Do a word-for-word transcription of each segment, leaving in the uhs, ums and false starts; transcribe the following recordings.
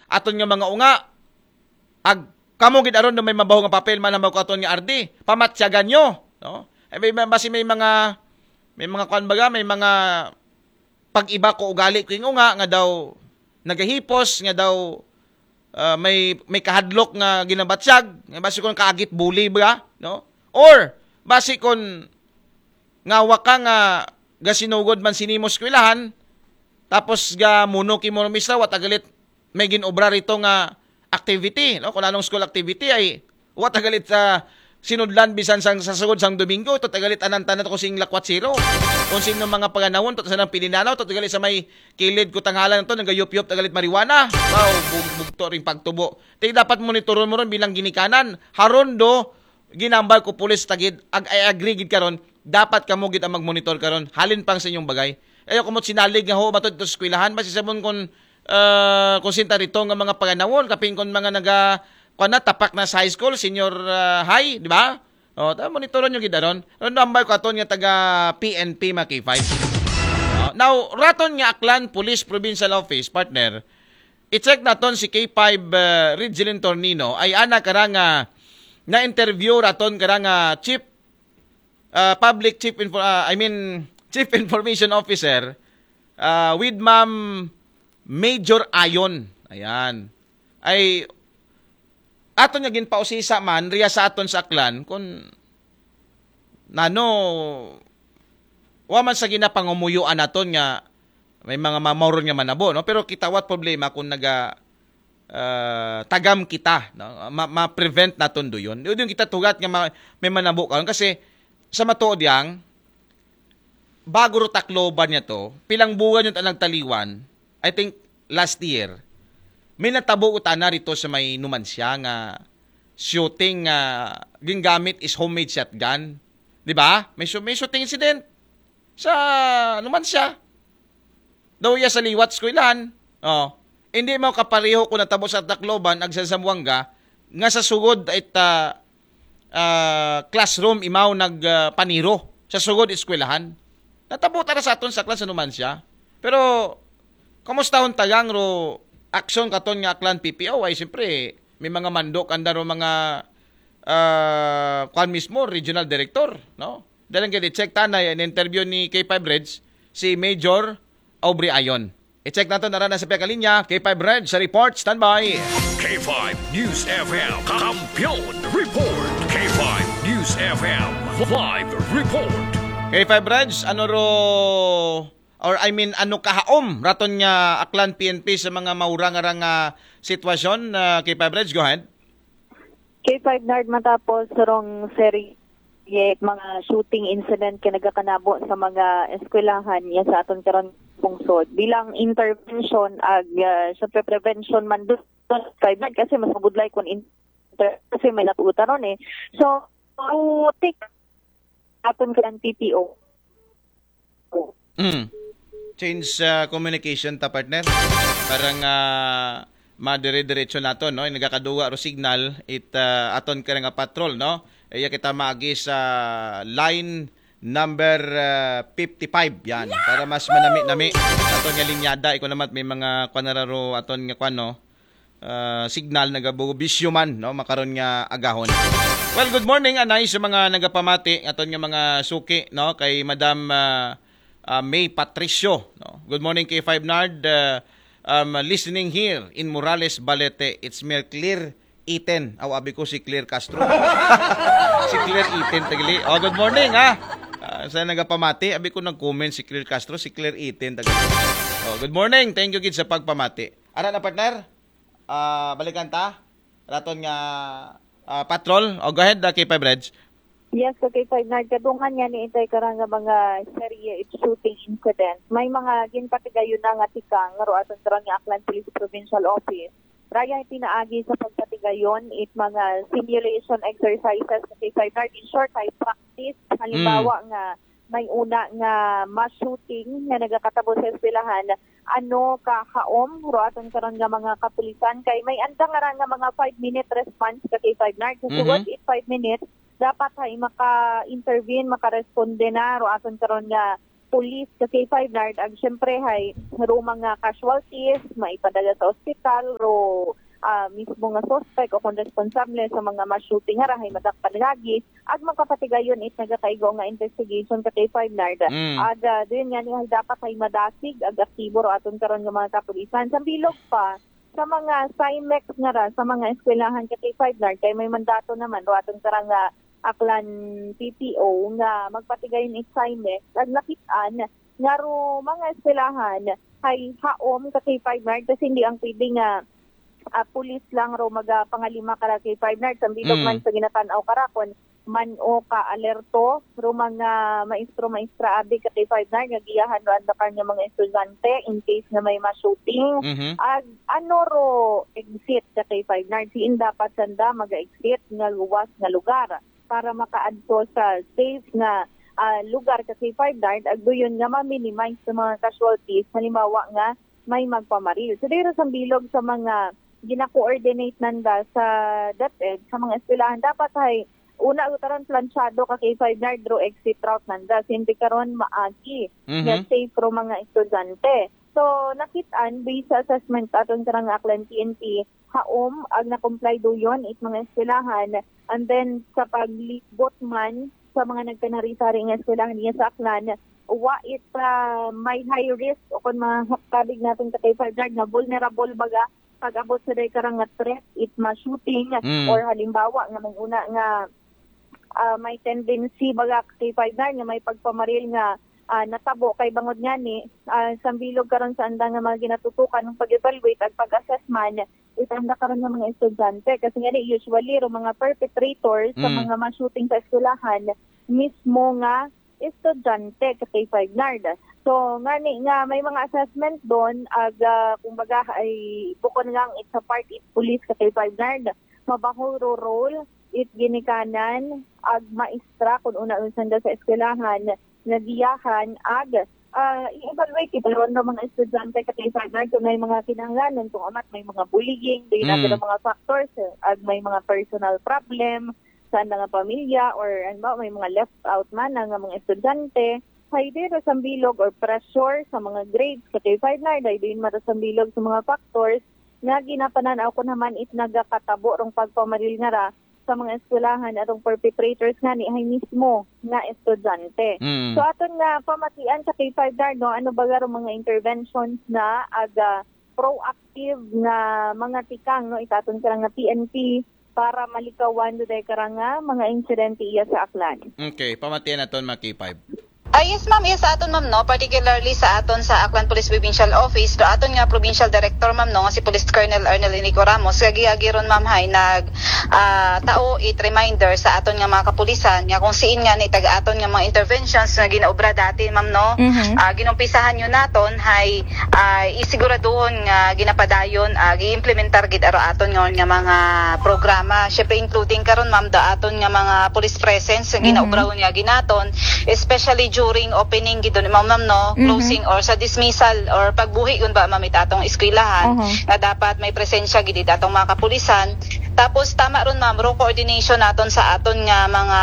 aton nga mga unga. Ag kamo gid aron do may mabaho nga papel man ang ko aton nga R D, pamatyagan nyo, no? Ay, may, basi may mga, may mga kwan baga, may mga pag-iba ko ugali ko yung unga nga daw nagahipos, nga daw ah, may may kahadlok nga ginabatyag, nga basi kon kaagit bully ba, no? Or basi kon nga waka nga gasinugod man sinimo eskwelahan, tapos ga muno kimo misla, wa tagalit may ginobra rito nga activity, no? Kung anong school activity ay wa tagalit sa sinudlan bisan sang sa sugod sang Domingo, ito tagalit anan tanan kung sing lakwat zero. Kung sino mga paganawon, to sa nang pilinanaw, to tagalit sa may kilid ko tanghalan to, nagayup-yup tagalit marijuana. Wow, bug- bugto ring pagtubo. Ti dapat monitoron mo ron bilang ginikanan. Haron do, ginambal ko pulis tagid, ag I agree gid karon, dapat kamo gid ang magmonitor karon. Halin pang sa inyong bagay. Ayaw ko mo sinalig nga ho, matod to sa eskwelahan, basi sabon kung uh, kung sinta rito nga mga paganawon, kapin kung mga naga, kuwan na, tapak na sa high school, senior ah, high, di ba? O, ta monitoron nyo gid aron. Ron nambal ko aton nga taga P N P mga K five. O, now, raton nga Aklan Police Provincial Office, partner, i-check naton si K five uh, Ridgelin Tornino, ay ana kara nga na-interview raton kara nga chief ah, public chief info, ah, I mean, chief information officer ah, with Ma'am Major Ayon. Ayan. Ay aton nga ginpausisa man riya sa aton sa Aklan kun nano wa man sa ginapangumuyuan naton nga may mga mamauron nga manabo, no? Pero kita wat problema kung naga ah, tagam kita, no? Ma- ma-prevent naton do yun. Yun yung kita tugat nga ma- may manabo karon kasi sa matuod yang bago ro Tacloban niya to, pilang buwan yung nagtaliwan, I think last year, may natabo utana rito sa may Numancia nga shooting nga gingamit is homemade shotgun. Di ba? May, shoo- may shooting incident sa Numancia. Daw iya sa liwat eskwelahan. Oh. Hindi mo kapareho kung natabo sa Tacloban ag sa Zamboanga nga sa sugod it ah, ah, classroom imaw nag ah, paniro sa sugod eskwelahan. Natabo tara sa aton sa klas anuman siya. Pero kumusta hon tagang ro aksyon katon nga Aklan P P O ay siyempre may mga mandok anda ro mga ah, kwan mismo regional director, no? Dalang gid i-check ta na in interview ni K five Reds si Major Aubrey Ayon. I-check nato na rin sa piyakalinya, K five Reds sa report, standby. K five News F M, Kampiyon Report. K five News F M, Live Report. K five Reds, ano ro, or I mean, ano kahaom raton nga Aklan P N P sa mga maurang arang uh, sitwasyon? Uh, K five Reds, go ahead. K five Nard, matapos rong serye mga shooting incident ka nagakanabo sa mga eskwelahan niya sa aton karon pungsod bilang intervention ag uh, syempre prevention man doon, K five Nard, kasi mas mabudlay kung inter kasi may natuta ron eh. So, to take aton ka P P O. Mm. Change uh, communication ta, partner. Para nga uh, madire-diretso nato, no? Nagakaduwa ro signal it uh, aton ka nga patrol, no? Iya kita maagi sa line number uh, fifty-five yan para mas manami-nami aton nga linyada. Iko naman may mga kwanararo aton nga kwan, no? Uh, signal nagabubisyo man, no? Makaron nga agahon. Well, good morning anay sa mga nagapamati aton nga mga suki, no? Kay Madam uh, uh, May Patricio, no? Good morning, K five Nard. Uh, um, listening here in Morales, Balete. It's Mel Clear Iten. Aw, abi ko si Clear Castro. Si Clear Iten tagli. Oh, good morning ha. Uh, sa nagapamati, abi ko nag-comment si Clear Castro, si Clear Iten tagli. Oh, good morning. Thank you gid sa pagpamati. Ara na, partner. Uh, balikan ta. Raton nga uh, patrol. Oh, go ahead, uh, K five Reds. Yes, okay, K five Nard, kadungan niya ni itay karang nga mga serye it shooting incident. May mga ginpatigayon na nga tikang ro aton karon nga Aklan Police Provincial Office. Raya pinaagi sa pagpatigayon it mga simulation exercises sa K five Nard. In short, ay practice. Halimbawa mm. nga may una nga mass shooting nga nagakatabo sa eskwelahan, ano ka haom ro aton karon nga mga kapulisan kay may andang ara nga mga five minute response ka K five Nard. So, mm-hmm. It five minutes dapat hay maka-intervene, makaresponde na ro aton karon nga police sa K five Nard, ag syempre hay ro mga casualties, maipadala sa ospital, ro ah, mismo nga suspect o kung responsable sa mga mass shooting nga ra hay madakpan lagi, ag makapatigayon it nagakaigo nga investigation ka K five Nard. Mm. Ag ah, diyon nga ni hay dapat hay madasig ag aktibo ro aton karon nga mga kapulisan. Sa bilog pa, sa mga CIMEX nga ra, sa mga eskwelahan ka K five Nard, kay may mandato naman ro aton karang nga Aklan P P O nga magpatigayon it CIMEX, ag nakit-an nga ro mga eskwelahan hay haom ka K five Nard, kasi hindi ang pwede nga ah, pulis lang ro magapangalima ka ra K five Nard. Sa bilog Mm. man sa ginatan-aw ka ra, kun man-o ka alerto ro mga maestro, maestra abi ka K five Nard nga giyahan ro andakar nga mga estudyante in case nga may ma-shooting. Mhm. Ag ano ro exit ka K five Nard? Siin dapat sanda maga-exit nga luwas nga lugar para makaadto sa safe nga ah, lugar ka K five Nard, ag duyon nga ma-minimize sa mga casualties, halimbawa nga may magpamaril. So, diri sa bilog sa mga gina-coordinate nanda sa DepEd, sa mga eskwelahan, dapat hay una utaran plansyado ka K five Nard ro exit route nanda. Siyempre karon maagi Mhm. nga safe ro mga estudyante. So, nakit-an, based sa assessment aton karang Aklan P N P, haom ag na-comply duyon it mga eskwelahan. And then, sa paglibot man sa mga nagkanari-sari nga eskwelahan niya sa Aklan, wa it ah, may high risk o kung mga kabig natin sa K five Nard nga vulnerable baga pag-abot sa day karang nga threat, it ma-shooting Mm. or halimbawa nga may una nga ah, may tendency baga K five Nard nga may pagpamaril nga ah, natabo kay bangod nga ni ah, sa bilog karon sa andang nga mga ginatutukan ng pag-evaluate at pag-assess man, itanda karon ng mga estudyante. Kasi nga ni, usually, ro mga perpetrators sa Mm. mga ma-shooting sa eskwelahan, mismo nga estudyante ka K five Nard. So, nga ni, nga may mga assessment doon, ag ah, kumbaga, ay bukod nga it's a part it police ka K five Nard, mabaho ro role it ginikanan ag maestra kun una unsan da sa eskwelahan nga giyahan ag ah, i-evaluate kita ron ng mga estudyante ka K five Nard kung may mga kinahanglanon, kung amat may mga bullying, di na Mm. mga factors, eh, ag may mga personal problem sa nga pamilya or ano ba, may mga left out man ang mga estudyante. Hay di ra sa bilog or pressure sa mga grades ka K five Nard, hay di mara sa bilog sa mga factors nga ginapanan-aw ko naman it nagakatabo rong pagpamaril nga ra sa mga eskwelahan atong perpetrators nga ni hay mismo nga estudyante. Mm. So aton nga pamatian sa K five Nard, no, ano ba garo mga interventions na aga proactive nga mga tikang, no, itaton ka nga P N P para malikawan do day karang nga mga insidente iya sa Aklan. Okay, pamatian naton mga K five. Ah, yes, ma'am. Yes, sa aton, ma'am, no, particularly sa aton sa Aklan Police Provincial Office, do aton nga Provincial Director, ma'am, no, nga si Police Colonel Arnel Inico Ramos, kagi-agi ron, ma'am, hay nag ah, tao it reminder sa aton nga mga kapulisan nga kung siin nga ni tag aton nga mga interventions nga ginaobra dati, ma'am, no. Mhm. Ah, ginumpisahan yun naton hay ah, isiguraduhon nga ginapadayon, ah, gi-implementar gid aro aton nga, nga mga programa. Syempre, including karon, ma'am, do aton nga mga police presence nga Mhm. ginaobrahon nga ginaton, especially during opening gid, ma'am, ma'am, no, Mhm. closing or sa dismissal or pagbuhi yun ba, ma'am, it atong eskwelahan Aha. nga dapat may presensya gid it atong mga kapulisan. Tapos tama ron, ma'am, ro coordination naton sa aton nga mga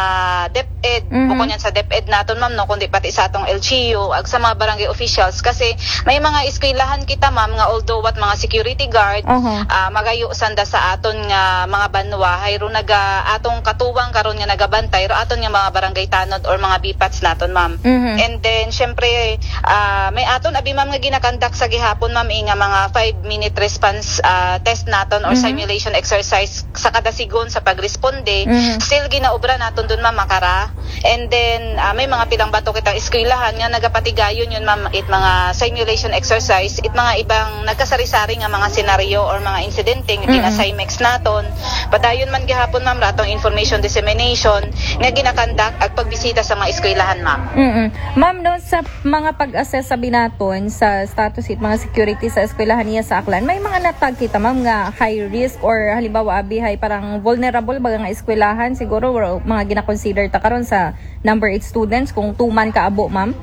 DepEd, Mhm. bukod yan sa DepEd naton, ma'am, no, kundi pati sa atong L G U ag sa mga barangay officials kasi may mga eskwelahan kita, ma'am, nga although what mga security guard, Aha. ah, magayo sanda sa aton nga mga banwa, hay ro naga atong katuwang karon nga nagabantay ro aton nga mga barangay tanod or mga B PATs naton, ma'am. Mhm. And then, syempre, ah, may aton abi, ma'am, nga ginakandak sa gihapon, ma'am, eh, nga mga five minute response ah, test naton or Mhm. simulation exercise sa kada sigon sa pagresponde, Mhm. still ginaobra naton dun, ma'am, makara. And then ah, may mga pilang bato kitang eskwelahan nga nagapatigayon yun, ma'am, it mga simulation exercise, it mga ibang nagkasari-sari nga mga senaryo or mga insidente nga Mhm. gina-SIMEX naton. Padayon man gihapon, ma'am, ratong information dissemination nga ginakandak ag pagbisita sa mga eskwelahan, ma'am. Mm-mm. Ma'am, no, sa mga pag-assess sa binaton sa status it mga security sa eskwelahan niya sa Aklan, may mga natag kita, ma'am, nga high risk or halimbawa abi hay parang vulnerable baga nga eskwelahan, siguro mga gina-consider ta karon sa number eight students kung tuman ka abo, ma'am?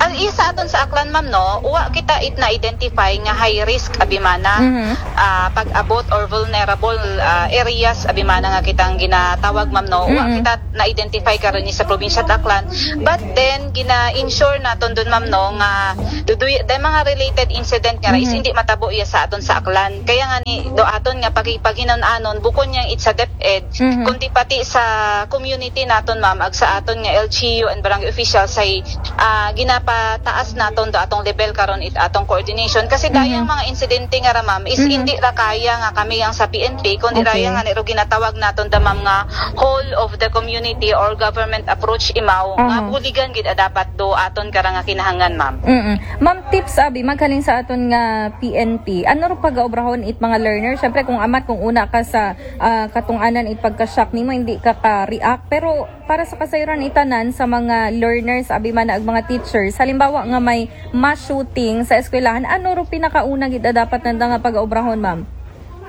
Ah, Iya sa aton sa Aklan, ma'am, no, wa kita it na-identify nga high risk abi man na, Mhm. ah, pag-abot or vulnerable, ah, areas abi man na nga kitang ginatawag, ma'am, no. Wa Mhm. kita na-identify karon ni sa probinsya sa Aklan. But then gina-ensure naton dun, ma'am, no, nga duduy day mga related incident nga ra is Mhm. hindi matabo iya sa aton sa Aklan. Kaya nga ni do aton nga pagi-, paghinan-anon bukon yang it sa DepEd, Mhm. kundi pati sa community naton, ma'am, ag sa aton nga L G U and barangay officials ay, ah, ginapataas naton do atong level karon it atong coordination kasi Mhm. dayang mga insidente nga ra, ma'am, is Mhm. hindi ra kaya nga kami yang sa P N P kundi Okay. dayang nga ni ro ginatawag naton da, ma'am, nga whole of the community or government approach imaw nga Aha. buligan gid a dapat do aton kara nga kinahangan, ma'am. Mm. Ma'am, tips abi maghalin sa aton nga P N P. Ano ro pagaobrahon it mga learner? Syempre kung amat kung una ka sa ah, katong-anan it pagka-shock nimo, hindi ka ka-react. Pero para sa kasayran itanan sa mga learners abi man na ag mga teachers, halimbawa nga may mass shooting sa eskwelahan, ano ro pinakauna gid a dapat nanda nga pagaobrahon, ma'am?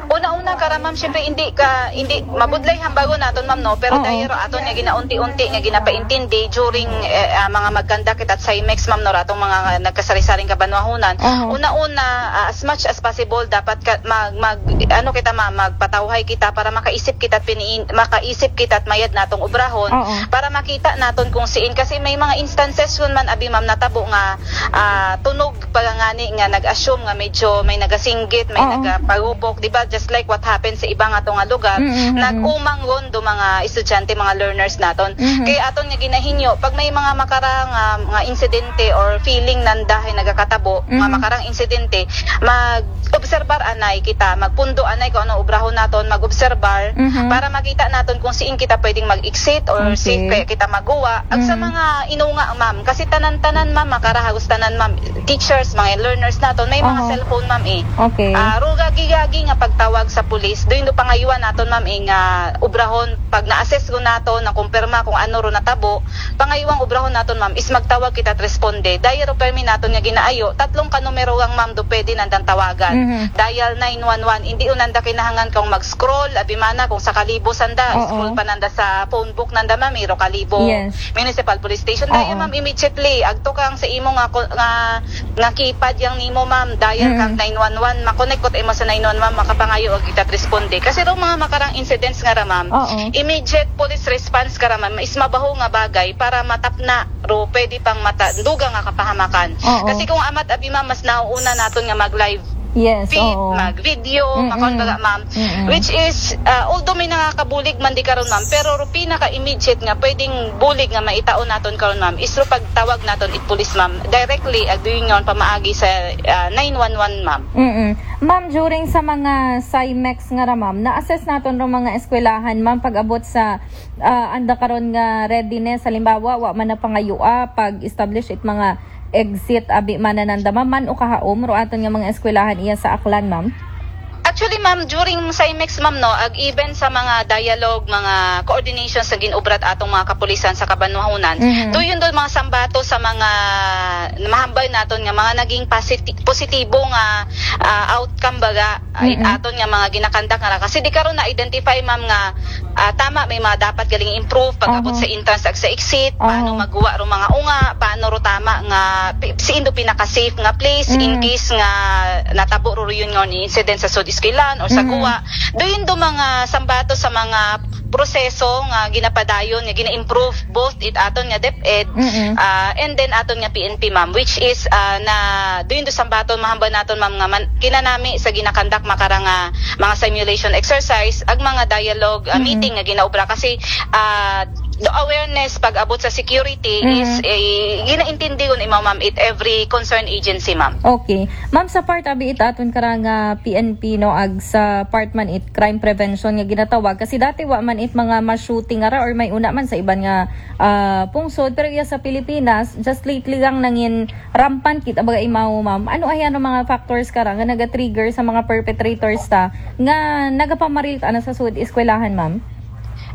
Una-una kara, ma'am, syempre hindi ka hindi mabudlay hambagon naton, ma'am, no, pero Oo. dahil ro aton nga ginaunti-unti nga ginapaintindi during eh, ah, mga magkandak kita sa CIMEX, ma'am, no, ratong mga nagkasari-saring kabanwahunan. Oo. Una-una, ah, as much as possible dapat ka, mag, mag ano kita, ma'am, magpatawhay kita para makaisip kita piniin makaisip kita at mayad natong obrahon Oo. para makita naton kung siin kasi may mga instances kun man abi, ma'am, natabo nga ah, tunog pagangani nga nag-assume nga medyo may nagasinggit, may Oo. nagapagupok, di ba? Just like what happened sa iba nga to nga lugar, Mm, mm, mm. nag-umang ron do mga estudyante, mga learners naton. Mhm. Kay aton nga ginahinyo, pag may mga makarang ah, mga insidente or feeling nanda hay nagakatabo, mga Mhm. makarang insidente, mag-obserbar anay kita, magpundo anay kung ano obrahon naton, mag-obserbar Mhm. para makita naton kung siin kita pwedeng mag-exit or Okay. safe kaya kita maguwa. Ag sa Mhm. mga inunga, ma'am, kasi tanan-tanan, ma'am, makara hagos tanan, ma'am, teachers, mga learners naton, may mga Aha. cellphone, ma'am, eh. Okay. Ah, ro gagi-gagi nga pagtawag sa pulis, do indo pangayuan naton, ma'am, eh, nga obrahon, pag na-assess ko naton, na kumpirma kung ano ro natabo, pangayuang obrahon naton, ma'am, is magtawag kita at responde. Dahil ro permi naton nga ginaayo, tatlong ka numero ang, ma'am, do pwede nandang tawagan. Mhm. Dial nine one one, hindi unanda kinahangan kung mag-scroll, abi man na, kung sa Kalibo sanda, Oo. scroll pa nanda sa phone book nanda, ma'am, iro Kalibo Yes. Municipal Police Station. Oo. Dahil, ma'am, immediately, agto kang sa imo nga ko- nga nga keypad yang nimo, ma'am, dial Mm. kang nine one one, makonect ko imo sa nine one one, makapangayo og kita responde. Kasi ro mga makarang incidents nga ra, ma'am, Oo. immediate police response ka ra, ma'am, is mabaho nga bagay para matapna ro pwede pang mata dugang nga kapahamakan. Oo. Kasi kung amat abi, ma'am, mas nauuna naton nga mag-live Yes, feed, oo. mag-video, Mm-mm. makon baga, ma'am. Mm-mm. Which is, ah, although may nakakabulig man di karon, ma'am, pero ro pinaka-immediate nga pwedeng bulig nga maitaon naton karon, ma'am, is ro pagtawag naton it police, ma'am, directly ag duyon pamaagi sa ah, nine one one, ma'am. Mm-mm. Ma'am, during sa mga CIMEX nga ra, ma'am, na-assess naton ro mga eskwelahan, ma'am, pag-abot sa ah, anda karon nga readiness, halimbawa, wa man na pangayua pag-establish it mga exit abi man na nanda, ma'am, man o kahaom ro aton nga mga eskwelahan iya sa Aklan, ma'am? Actually, ma'am, during CIMEX, ma'am, no, ag even sa mga dialogue, mga coordination sa ginubrat atong mga kapulisan sa kabanwahunan, Mhm. duyon do mga sambato sa mga mahambal naton nga mga naging positi- positibo nga ah, outcome baga ay Mm-mm. aton nga mga ginakandak nga ra. Kasi di karon na-identify, ma'am, nga ah, tama may mga dapat galing improve pag-abot Aha. sa entrance ag sa exit, paano Aha. maguwa ro mga unga, paano ro tama nga pi- si indo pinaka-safe nga place in Mm. case nga natabo ro yun nga ni incident sa Sud Esquilan or sa Mm. Guwa. Do yun do mga sambato sa mga proseso nga ginapadayon, nga gina-improve both it aton nga DepEd Mm-mm. ah, and then aton nga P N P, ma'am, which is ah, na do yun do sambaton mahambal naton, ma'am, nga man, kinanami sa ginakandak makara nga mga simulation exercise ag mga dialogue ah, Mm-mm. meeting nga ginaobra kasi ah, the awareness pag-abot sa security Mhm. is eh, ginaintindi yun, ma'am, it every concerned agency, ma'am. Okay. Ma'am, sa part abi it aton kara nga P N P, no, ag sa part man it crime prevention nga ginatawag, kasi dati wa man it mga mass shooting ara or may una man sa iban nga ah, pungsod, pero iya sa Pilipinas just lately lang nangin rampant kita baga imaw, ma'am. Ano ay ano mga factors kara nga naga-trigger sa mga perpetrators ta nga nagapamaril ta na sa sud eskwelahan, ma'am?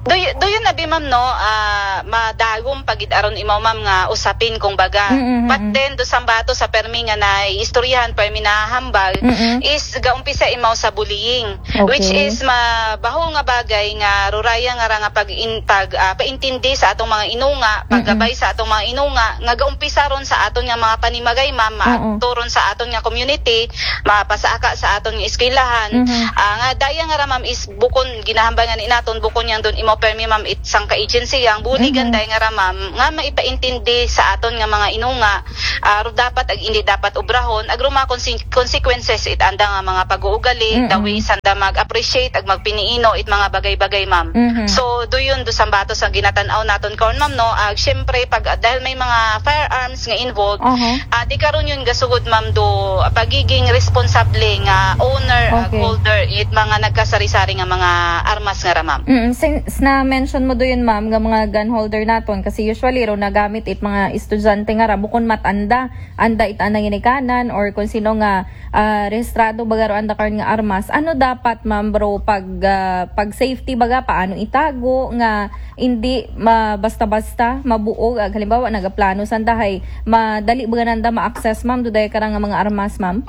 Do you, do you na bi, ma'am, no? Ah, madagom pa gid aron imaw, ma'am, nga usapin, kung baga. Mm, mm, But mm. then, do sambato sa permi nga na istoryahan, permi na hambal, Mm-mm. is gaumpisa imaw sa bullying, Okay. which is mabahol nga bagay nga ruraya nga ra nga pag-intag, ah, paintindi sa atong mga inunga, Mm-mm. paggabay sa atong mga inunga, nga gaumpisa ron sa aton nga mga panimagay, ma'am, Mm-mm. maadto ron sa aton nga community, mapasaka sa aton nga eskwelahan. Mm-hmm. Ah, nga daya nga ra, ma'am, is bukon ginahambal nga ni naton, bukon yang don imaw permi, ma'am, it sangka agency yang buligan Mhm. daya nga ra, ma'am, nga maipaintindi sa aton nga mga inunga, ah, ro dapat ag indi dapat obrahon, ag ro mga konse-, consequences it anda nga mga pag-uugali, Mm-mm. the way sanda mag-appreciate ag magpiniino it mga bagay-bagay, ma'am. Mhm. So, do yun, do sambato sa ginatan-aw naton karon, ma'am, no? Ag syempre, pag, dahil may mga firearms nga involved, Aha. ah, di karon yun gasugod, ma'am, do pagiging responsable nga owner ag Okay. holder it mga nagkasari-sari nga mga armas nga ra, ma'am. Mm, since na-mention mo do yun, ma'am, nga mga gun holder naton, kasi usually ro nagamit it mga estudyante nga ra, bukon mat-anda, anda it anang ginikanan or kung sino nga, ah, rehistrado baga ro anda karon nga armas. Ano dapat, ma'am, bro, pag, ah, pag safety baga, paano itago nga hindi ma-, basta-basta mabuog, ag halimbawa nagaplano sanda hay madali baga nanda ma-access, ma'am, do daya ka ra nga mga armas, ma'am?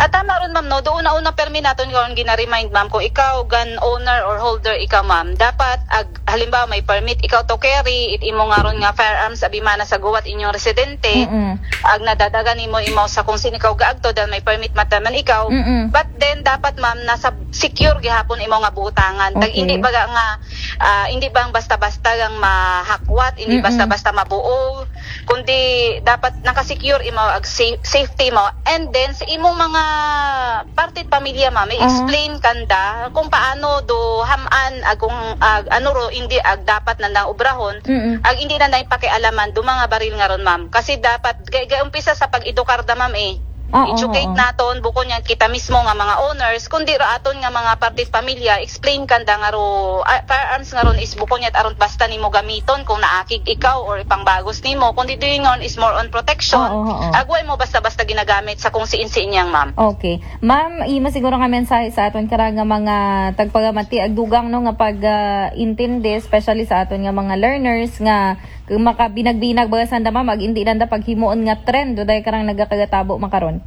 Ah, tama ron, ma'am, no? Do una-una permi naton karon gina-remind, ma'am, kung ikaw gun owner or holder ikaw, ma'am, dapat ag halimbawa may permit ikaw to carry it imo nga ron nga firearms abi man na sa guwat inyong residente, Mm-mm. ag nadadagan nimo imaw sa kung sino ikaw gaagto dahil may permit mataman ikaw. Mm-mm. But then dapat, ma'am, nasa secure gihapon imo nga butangan. Tag Okay. hindi baga nga, ah, hindi bang basta-basta lang mahakwat, hindi Mm-mm. basta-basta mabuo, kundi dapat nakasecure imo ag sa-, safety mo. And then sa imong mga parte pamilya, ma'am, Aha. i-explain kanda kung paano do ham-an ag kung, ag ano ro, hindi ag dapat nandang obrahon, Mm-mm. ag hindi nandang pakialaman do mga baril nga ron, ma'am. Kasi dapat gay, gay umpisa sa pag-edukar da, ma'am, eh. Ah, oo, Educate oo. naton, bukon yan kita mismo nga mga owners, kundi ra aton nga mga parte pamilya, explain kanda nga ro, ah, firearms nga ron is bukon yan aron basta nimo gamiton kung naakig ikaw or ipangbagos nimo, kundi do yun nga ron is more on protection. Oo, oo. Ag way mo basta-basta ginagamit sa kung siin-siin yang, ma'am. Okay. Ma'am, imo siguro nga mensahe sa aton kara nga mga tagpagamati ag dugang, no, nga pag, ah, intindi, especially sa aton nga mga learners nga makabinag-binag baga sanda, ma'am, ag hindi nanda paghimuon nga trend do daya karang nagakagatabo makaron.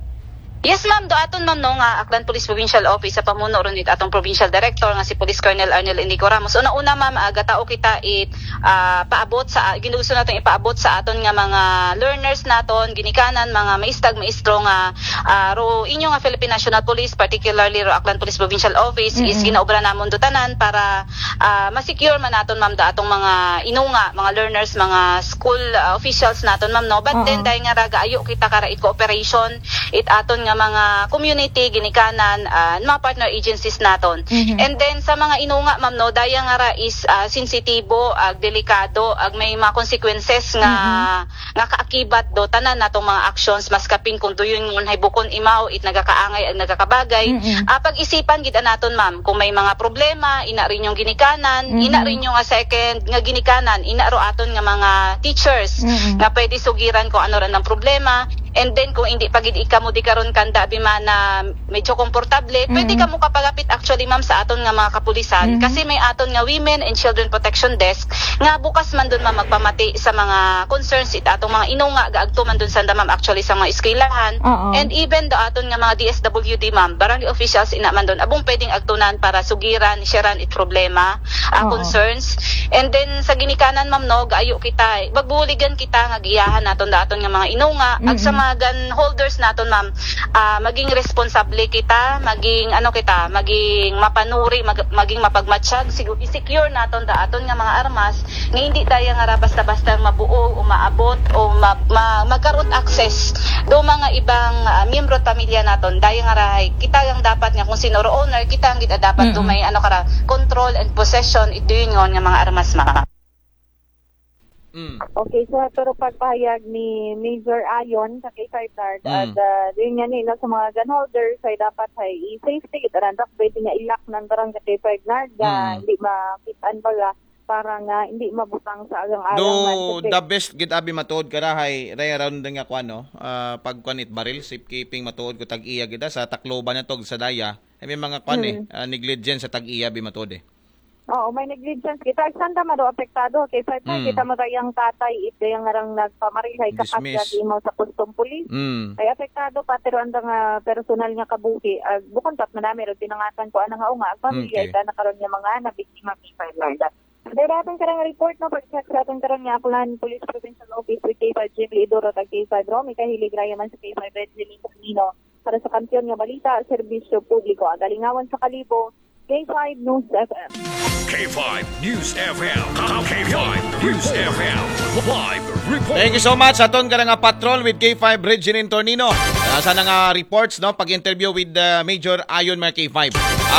Yes, ma'am. Do aton, ma'am, no, nga Aklan Police Provincial Office sa pamuno ron it atong Provincial Director nga si Police Colonel Arnel Indico Ramos. Una-una, ma'am, ah, gatao kita it, ah, paabot sa, ginusto naton ipaabot sa aton nga mga learners naton, ginikanan, mga maestag, maestro nga, ah, ro inyo nga Philippine National Police, particularly ro Aklan Police Provincial Office, is Mm-mm. ginaobra namon do tanan para, ah, ma-secure man naton, ma'am, do atong mga inunga, mga learners, mga school, ah, officials naton, ma'am, no? But Oo. then, dahil nga ra gaayo kita kara it cooperation, it aton nga mga community, ginikanan, ah, mga partner agencies naton. Mhm. And then, sa mga inunga, ma'am, no, daya nga ra is, ah, sensitibo, ag delikado, ag may mga consequences nga, Mm-mm. nga kaakibat do tanan natong mga actions, mas kapin kung do yun ngon hay bukon imaw, it nagakaangay ag nagakabagay. Mm-mm. Ah, pag-isipan gid naton, ma'am, kung may mga problema, ina rin yung ginikanan, Mhm. ina rin yung nga second nga ginikanan, ina ro aton nga mga teachers, Mm-mm. nga pwede sugiran kung ano rin ang problema. And then, kung hindi pa gid ikamo di karon kanda, abi man na medyo komportable, pwede Mm-mm. kamo kapalapit actually, ma'am, sa aton nga mga kapulisan. Mhm. Kasi may aton nga Women and Children Protection Desk nga bukas man dun, ma'am, magpamati sa mga concerns it atong mga inunga, gaagto man dun sanda, ma'am, actually sa mga eskwelahan. Oo. And even do aton nga mga D S W D, ma'am, barangay officials ina man dun, abong pwedeng agtunan para sugiran, sharean it problema, ah, Oo. concerns. And then, sa ginikanan, ma'am, no, gaayo kita, magbuligan kita nga giyahan naton do aton nga mga inunga, ag sa Mm-mm. mga gun holders naton, ma'am, ah, maging responsable kita, maging, ano kita, maging mapanuri, mag-, maging mapagmatsyag, sigu-, i-secure naton do aton nga mga armas, nga hindi daya nga ra basta-basta mabuo o maabot o ma-, ma-, magkaroon access do mga ibang, ah, miyembro at pamilya naton. Daya nga ra hay kita ang dapat nga kung sino ro owner, kita ang gid dapat do Mm-mm. may ano kara, control and possession, ito yun nga mga armas, ma'am. Mm. Okay, so pero pagpahayag ni Major Ayon sa K five Nard, Mm. at, ah, yun nga ni, no, sa mga gun holders, ay dapat ay i-safety gid aran, pwede nga ilak ng barang sa K five Nard, ah, Mm. hindi makitaan baga, para nga hindi mabutang sa agang-agang Do, man. Kasi the best gid abi matuod kara hay, ray around nga kuan, no? Ah, pagkuan it baril, safekeeping matuod ko tag-iya gid, ah, sa Tacloban na tog sa daya. Ay, may mga kuan, eh, Mm. ah, negligence sa tag-iya bi matuod, eh. Oo, may negligence kita. Sanda ma do apektado. Kay five na, Mm. kita mo tayong tatay, ito yung ngarang nagpamaril, hay Dismiss. Imaw sa custom police. Mm. Ay apektado, pati ro andang ah, personal nga kabuhi. Ah, bukon pat manami ro tinangatan ko anang nga unga. Ag pamilya Okay. Ita na karon nga mga nabiktima, K five Lorna. Dahil ating karang report, no, pag-check sa ating karang nga Aklan Police Provincial Office with K five Jim Lidoro, tag K five Romy Kahilig, Rayaman sa K five Red Zilling Camino. Para sa kampiyon nga balita, serbisyo publiko, agalingawan sa Kalibo, K five News F M. K five News F M. K five News F M. Live report. Thank you so much. Aton ka nga patrol with K five Regine Tornino. Uh, sana nga reports, no? Pag-interview with uh, Major Ayon, mga K five.